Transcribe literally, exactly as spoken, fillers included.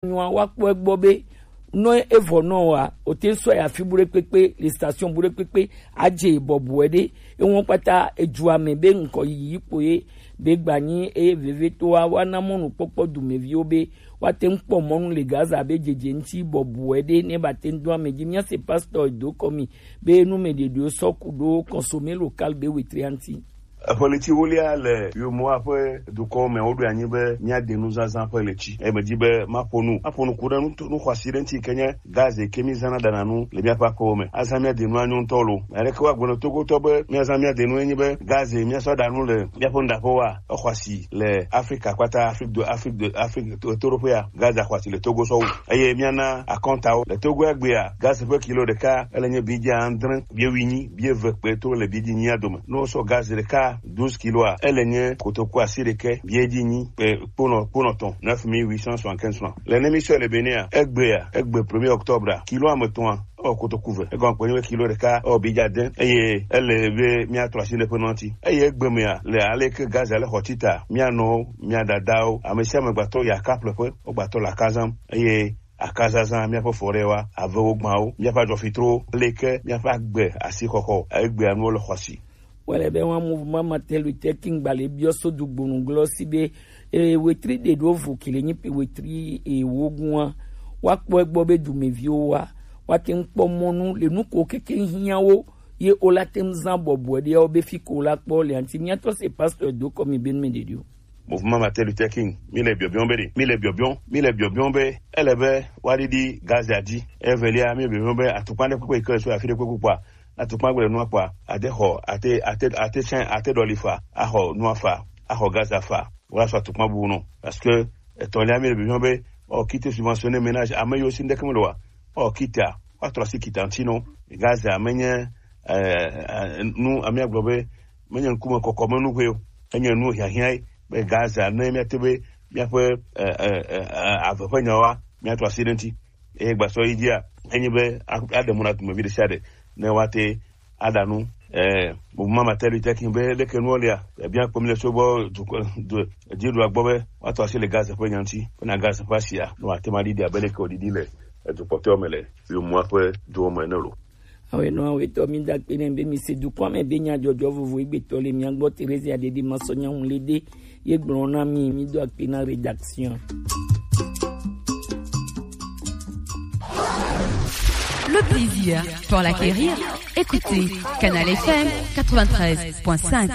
nyɔa wa kpɔ egbɔ be nɔ evɔ nɔ wa o te sɔ ya fi bu ɖe kpekpe le station bu ɖe kpekpe adze bɔbɔe ɖe ewɔn kpata edu ame be ŋkɔ yiyi kpo ye be gbanyi eye veve to wa wa na mɔnu kpɔkpɔ dumeviwo be wa te ŋkpɔ mɔnu le Gaza be dzedze ŋti bɔbɔe ɖe ne ba te ŋdo ame dzi mia se pastor do kɔmi be nu me ɖeɖewo sɔ ku ɖo consommé local be wetri anti. Eƒe ɣleti ewolia le Yomoa ƒe dukɔwo me, woɖo anyi be míade nuzazã ƒe ɣleti. Eye medi be maƒo nu, maƒo nu ku ɖe nu, nu xɔasi ɖe ŋuti yi ke nye gaz yi ke mízãna ɖana nu le míaƒe aƒewo me. Azã míade nu anyo ŋutɔ lo. Ame aɖeke woagblɔ na Togotɔ be míazã míade nu enye be gaz yi míasɔ ɖa nu le míaƒe nuɖaƒewoa, exɔasi le Afrika kpata, Afrique de, Afrique de, Afrique to-, toɖoƒea, gaz xɔasi le Togo sɔwu. Eye míana akɔntawo le Togo egbea, gaz ƒe kilo ɖeka ele nye bidja adre, bie wuienyi, bie eve kpe to le bidji nyia dome. Ne wosɔ gaz ɖeka douze kiloa, ele nye kotoku asiɖeke, bidji nyi kpe kponɔ, kponɔ tɔn, neuf mille huit cent soixante-quinze francs. Le ne mi sɔ le Bénin, egbea, egbe premier octobre, kilo ame etɔ̃a, ewɔ kotoku ve. Egɔme kpe nye be kilo ɖeka ewɔ bidja ade, eye ele be míatrɔ asi ɖe ƒe nɔti. Eye egbe mea, le ale ke gaz ale xɔ tita, mía nɔwo, mía dadawo, ame sia ame gbatɔ yi akaƒleƒe, wogbatɔ le aka zãm. Eye akazazã, míaƒe forêtwa, avewo gbãwo, míaƒe adzɔfitrowo, aleke míaƒe agbe asixɔxɔ, egbea nuwo le xɔasi. Wale be wa mouvement Martin Luther King gbalẽ biɔ so dugbonu glɔ si be, e, wetri ɖe ɖo vo ki le nyi pe wetri ewo gua. Wa kpɔ egbɔ be dumeviwo wa, wa te ŋu kpɔ mɔnu le nu ko keke hiãwo ye o la te ŋu zã bɔbɔe ɖe wo be fi ko la kpɔ le anti. Míatɔ se pasteur do kɔ mi be nu me ɖeɖi o. Mouvement Martin Luther King, mi le biɔbiɔ be ɖe, mi le biɔbiɔ, mi le biɔbiɔ be ele be wa ɖiɖi Gaza dzi. Evelia, mi le biɔbiɔ be atukpa ɖe kpekpe yi ke le so afi ɖe kpekpe kpɔa, atukpa gbe le nua kpɔa, ate xɔ, ate, ate, ate tsɛ, ate ɖɔli fa, axɔ nua fa, axɔ Gaza fa, wala sɔ atukpa bubu nɔ. Parce que etɔ̃lia mi le bibiɔ be, ɔ, kite subventionner ménage, ame yiwo si ŋɖeke mele wa, ɔ, kitea, wa trɔ asi kita ŋuti nɔ. Gaza menye, eh, eh, nu, ame agblɔ be, menye ŋkume kɔkɔ me nu ƒe o. Enye nu hiahiã ye, be Gaza ne míate be míaƒe, eh, eh, eh, eh, ave ƒe nyawoa, míatrɔ asi ɖe ŋuti. Eye gbasɔ yi dzia, enye be a-, aɖe mɔ na dumevi ɖe sia ɖe ne woate aɖa nu. Eh, mouvement Martin Luther King be leke nuwo lia, ebia kpɔm le so gbɔ du, du, dziɖua gbɔ be woatɔ asi le Gaza ƒe nya ŋuti, bena Gaza ƒe asia no ate ma ɖiɖi abe leke wòɖiɖi le edu kpɔtɔewo me le Yomoa ƒe duwo me ene lo. Awe nɔ awe tɔ mi da kpe ne be mi se dukɔ me be nya dzɔdzɔ vovo egbetɔ le mia gbɔ Teresia ɖeɖi ma sɔ nya ŋu le ɖe. Ye gblɔ na mi, mi do akpe na rédaction. Le plaisir pour l'acquérir, écoutez Canal F M quatre-vingt-treize point cinq.